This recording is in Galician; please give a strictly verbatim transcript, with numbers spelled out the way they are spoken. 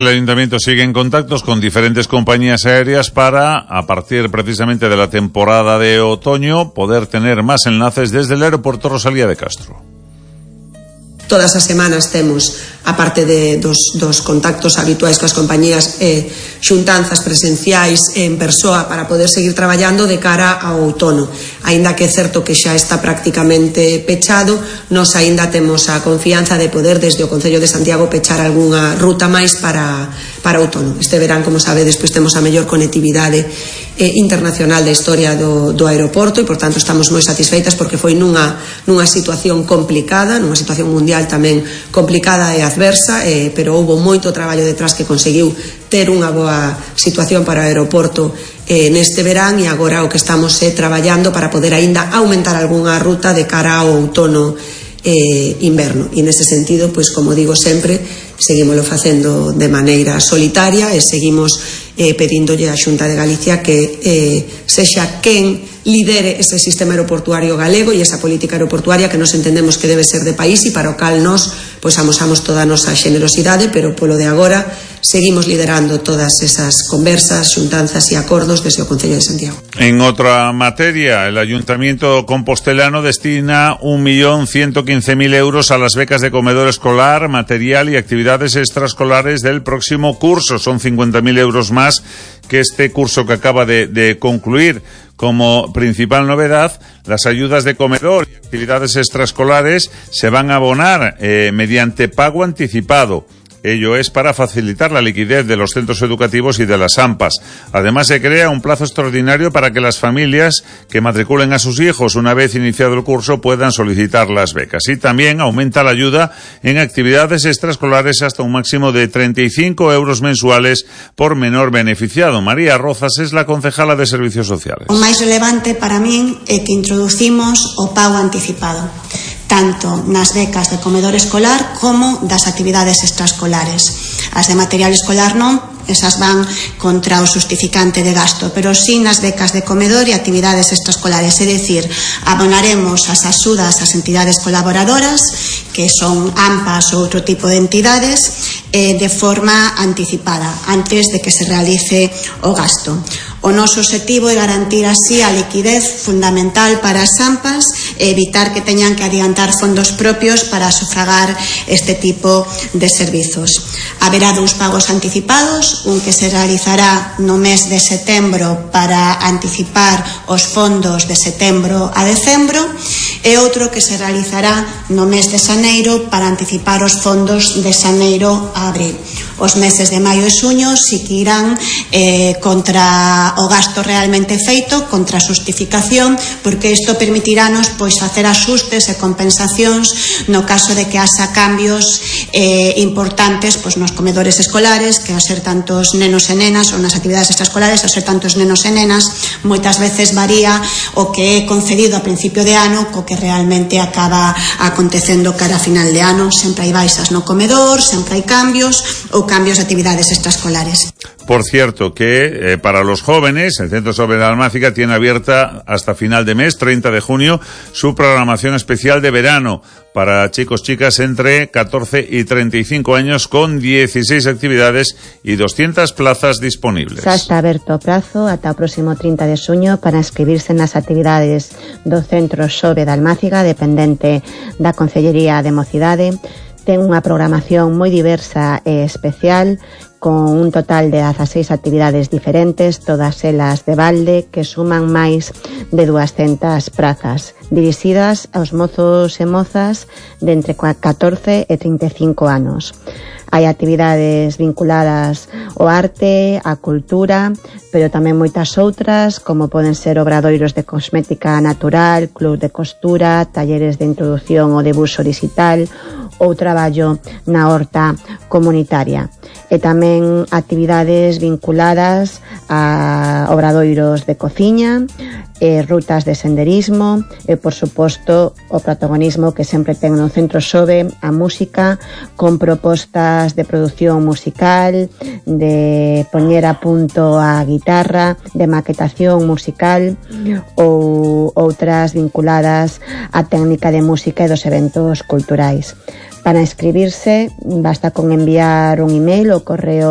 El Ayuntamiento sigue en contactos con diferentes compañías aéreas para, a partir precisamente de la temporada de otoño, poder tener más enlaces desde el aeropuerto Rosalía de Castro. Todas as semanas temos, aparte de dos, dos contactos habituais coas compañías, eh, xuntanzas presenciais en persoa para poder seguir traballando de cara ao outono. Aínda que é certo que xa está prácticamente pechado, nos aínda temos a confianza de poder desde o Concello de Santiago pechar algunha ruta máis para, para outono. Este verán, como sabedes, pois temos a mellor conectividade eh, internacional da historia do, do aeroporto e, por tanto, estamos moi satisfeitas porque foi nunha, nunha situación complicada, nunha situación mundial tamén complicada e adversa, eh, pero houbo moito traballo detrás que conseguiu ter unha boa situación para o aeroporto eh, neste verán, e agora o que estamos é eh, traballando para poder aínda aumentar algunha ruta de cara ao outono eh, inverno. E nese sentido, pois como digo sempre, seguímoslo facendo de maneira solitaria e seguimos eh, pedíndolle á Xunta de Galicia que eh, sexa quen lidere ese sistema aeroportuario galego e esa política aeroportuaria que nos entendemos que debe ser de país e para o cal nos pois amosamos toda a nosa xenerosidade, pero polo de agora seguimos liderando todas esas conversas, xuntanzas e acordos desde o Concello de Santiago. En otra materia, el Ayuntamiento compostelano destina un millón ciento quince mil euros a las becas de comedor escolar, material y actividades extraescolares del próximo curso. Son cincuenta mil euros más que este curso que acaba de, de concluir. Como principal novedad, las ayudas de comedor y actividades extraescolares se van a abonar eh, mediante pago anticipado. Ello es para facilitar la liquidez de los centros educativos y de las AMPAs. Además, se crea un plazo extraordinario para que las familias que matriculen a sus hijos una vez iniciado el curso puedan solicitar las becas. Y también aumenta la ayuda en actividades extraescolares hasta un máximo de treinta y cinco euros mensuales por menor beneficiado. María Rozas es la concejala de Servicios Sociales. O máis relevante para min é que introducimos o pago anticipado, tanto nas becas de comedor escolar como das actividades extraescolares. As de material escolar non, esas van contra o xustificante de gasto, pero sí nas becas de comedor e actividades extraescolares, é dicir, abonaremos as axudas ás entidades colaboradoras, que son AMPAs ou outro tipo de entidades, eh, de forma anticipada, antes de que se realice o gasto. O noso obxectivo é garantir así a liquidez fundamental para as AMPAs e evitar que teñan que adiantar fondos propios para sufragar este tipo de servizos. Haberá dous pagos anticipados, un que se realizará no mes de setembro para anticipar os fondos de setembro a decembro e outro que se realizará no mes de xaneiro para anticipar os fondos de xaneiro a abril. Os meses de maio e xuño si que irán eh, contra o gasto realmente feito, contra a xustificación, porque isto permitirános pois facer axustes e compensacións no caso de que haxa cambios eh, importantes pois nos comedores escolares, que ao ser tantos nenos e nenas, ou nas actividades extraescolares, ao ser tantos nenos e nenas, moitas veces varía o que é concedido a principio de ano co que realmente acaba acontecendo cara a final de ano. Sempre hai baixas no comedor, sempre hai cambios ou cambios de actividades extraescolares. Por cierto, que eh, para los jóvenes, el Centro Sobe de Almáciga tiene abierta hasta final de mes, treinta de junio, su programación especial de verano para chicos, chicas entre catorce y treinta y cinco años, con dieciséis actividades y doscientas plazas disponibles. Xa está aberto o prazo ata o próximo trinta de xuño para inscribirse nas actividades do Centro Sobe de Almáciga, dependente da Concellería de Mocidade. Ten unha programación moi diversa e especial, con un total de dieciséis actividades diferentes, todas elas de balde, que suman máis de duascentas prazas, dirixidas aos mozos e mozas de entre catorce e trinta e cinco anos. Hai actividades vinculadas ao arte, á cultura, pero tamén moitas outras, como poden ser obradoiros de cosmética natural, club de costura, talleres de introdución ao debuxo digital ou traballo na horta comunitaria. E tamén actividades vinculadas a obradoiros de cociña, e rutas de senderismo e, por suposto, o protagonismo que sempre ten no Centro Sobe a música, con propostas de produción musical, de poñer a punto a guitarra, de maquetación musical ou outras vinculadas á técnica de música e dos eventos culturais. Para inscribirse basta con enviar un email ao correo